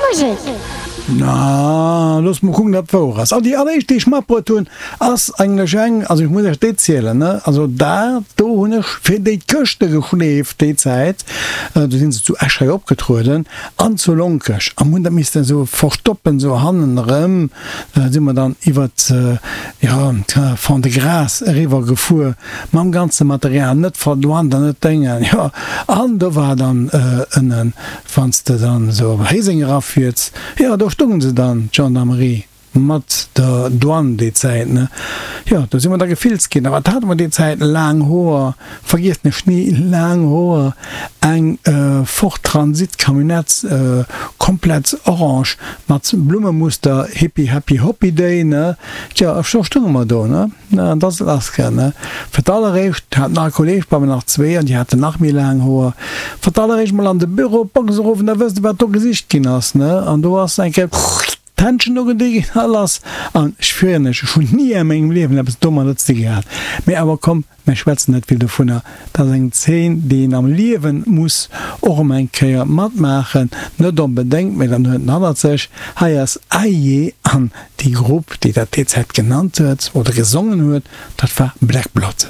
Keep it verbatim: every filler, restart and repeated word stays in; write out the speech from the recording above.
Musek. Na, looss mol kucken, dat wouer ass. An déi alleréischt, déi ech matbruet hunn, ass eigentlech eng, also ech muss iech déi zielen, ne, also dat do hunn ech fir déi d'Këschte geschleeft déi Zäit, do sinn se zu Esch hei opgetrueden an zu Lonkech a mir hunn dat missten esou verstoppen, esou hannen erëm si mer dann iwwert, jo, Fond-de-Gras eriwwer gefuer mam ganze Material, net verduant an net Déngen, jo, an do war dann ënnen, wann s de dann esou op Héiseng erafiers, jo, do stoungen se dann, d'Gendarmerie mat der Douane déi Zäit, ne? Jo, do si mer da gefilzt ginn. A wat hate mer déi Zäit? Laang Hoer, vergiesst mech ni, laang Hoer, eng Ford Transit Camionnette, komplett orange mat Blummemuster, Hippie Happy Hoppy Day, ne? Tjo, a scho stounge mer do, ne? An da ass et lass gaang, ne? Fir d'alleréischt hat nach e Kolleg bei mir, nach zwee, an déi haten nach méi laang Hoer. Fir d'alleréischt mol an de Büro, d'Box erof, an da wësst Der, wat do gesicht ginn ass, ne? An do ass eng Kéier d'Händschen ugedi ginn a lass. An ech schwieren lech, ech hunn ni a mengem Liewen eppes domadder ze di gehat. Mee awer komm, Mir schwätzen net vill dovunner. Dat ass eng Zeen, déi een am Liewen muss och emol eng Kéier matmaachen. Net onbedéngt, mee dann huet en hannert sech. Hei ass Aye an déi Grupp, déi dat déi Zäit genannt huet oder gesongen huet, dat war Black Blood.